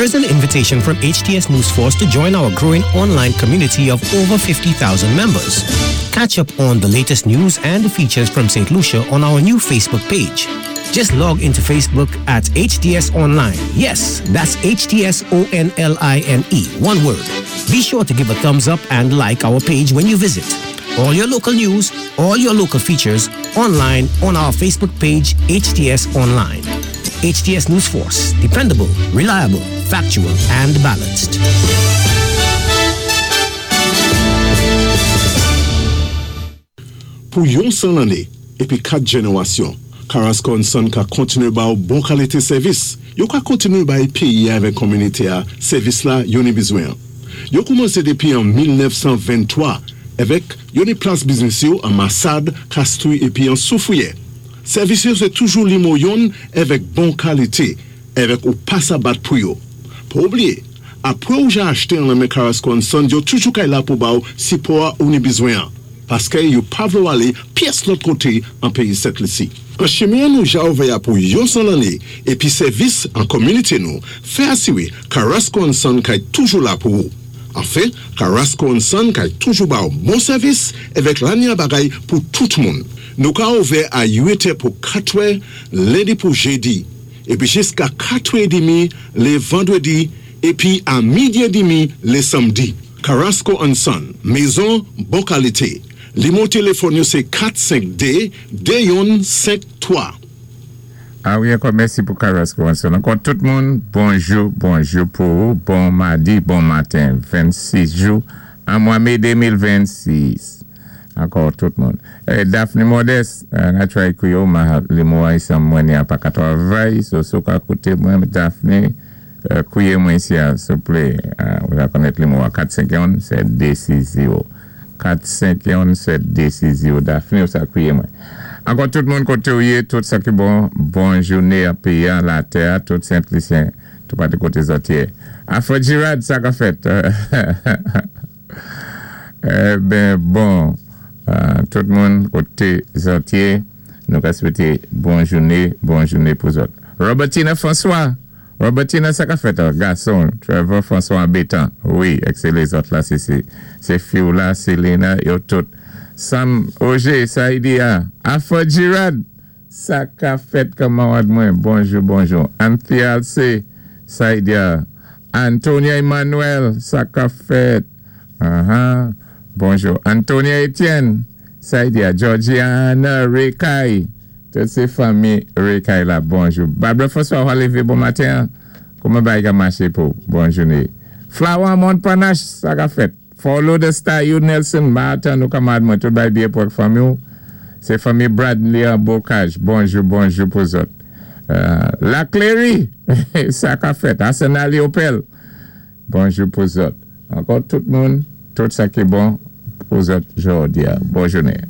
Here's an invitation from HTS News Force to join our growing online community of over 50,000 members. Catch up on the latest news and features from St. Lucia on our new Facebook page. Just log into Facebook at HTS Online. Yes, that's HTS O N L I N E, one word. Be sure to give a thumbs up and like our page when you visit. All your local news, all your local features, online on our Facebook page, HTS Online. HTS News Force, dependable, reliable, factual, and balanced. Pou yon 100 lanné épi 4 jénéwasyon, Carrasco and Son ka kontinué ba-ou bon kalité sèvis. Yo ka kontinué bay péyi-a avèk kominité-a sèvis la yo ni bizwen-an. Yo koumansé dépi an 1923 avèk yo ni plas biznis yo an Masad, Kastri épi an Soufriyè. Sèvis yo sé toujou limo yonn avèk bon kalité avèk ou pa sa bat pou yo. Pa oubliyé, apwé ou ja achté an lan men Carrasco and Son yo toujou kay la pou ba-ou sipò-a ou ni bizwen-an. Paskè yo pa vlé-w alé pyès lòt koté an péyi Sent Lisi. An chimen nou ja ouvè-a pou yon 100 lanné épi sèvis an kominité nou fè asiwé Carrasco and Son kay toujou la pou ou. Anfen, Carrasco and Son kay toujou ba-w bon sèvis èvèk lanya bagay pou tout moun. Nou ka ouvè a 8 è pou 4 è lendi pou jédi épi jiska 4 è édmi lé vandwédi épi a midi édmi lé sanmdi. Carrasco and Son, mezon bon kalité. Limo téléfòn yo sé 4 5 2 2 yonn 5 3. A wi ankò mèsi pou Carrasco and Son ankò tout moun bonjou bonjou pou ou bon madi bon maten 26 jou an mwa me 2026 ankò tout moun Daphne Modeste na try kouye w ma limo a isan mwen ni a pa ka travay so si w ka koute mwen Daphne Kouye mwen isi a souple. Ou ta konèt nimewo a 4 5 1 7 2 6 0 4 5 1 7 2 6 0 Daphne ou sa kouye mwen. Ankò tout moun kotew ye tout sa ki bon bon joune an peyi an latè a tout sent lisyen tou pati kote zòt ye Afro Girard sa ka fèt Eben bon tout moun kote zòt ye nou ka swete bon joune bon joune pou zòt Robertina François. Robertina sa ka fèt an gason Trevor François anbetan wi exe lezòt la se se fiw la Selena yo tout Sam Oje Saidia Afro Girard sa ka fèt kanmarad mwen bonjou bonjou Anthia Alce Saidia Antonia Emmanuel sa ka fèt ahaa bonjou Antonia Etienne Saidia Georgiana Rekay Tout se fanmi Rekay la bonjou. Barbara François wa leve bon maten an kouman bagay ka mache pou bon joune Flower Montparnasse sa ka fèt Follow the star you Nelson ma atann ou kamarad mwen tout bagay byen pou ak fanmi w se fanmi Bradley an Bocage bonjou bonjou pou zòt La Clery sa ka fèt Arsenal Opel bonjou pou zòt ankò tout moun tout sa ki bon pou zòt jodi a bon jounen.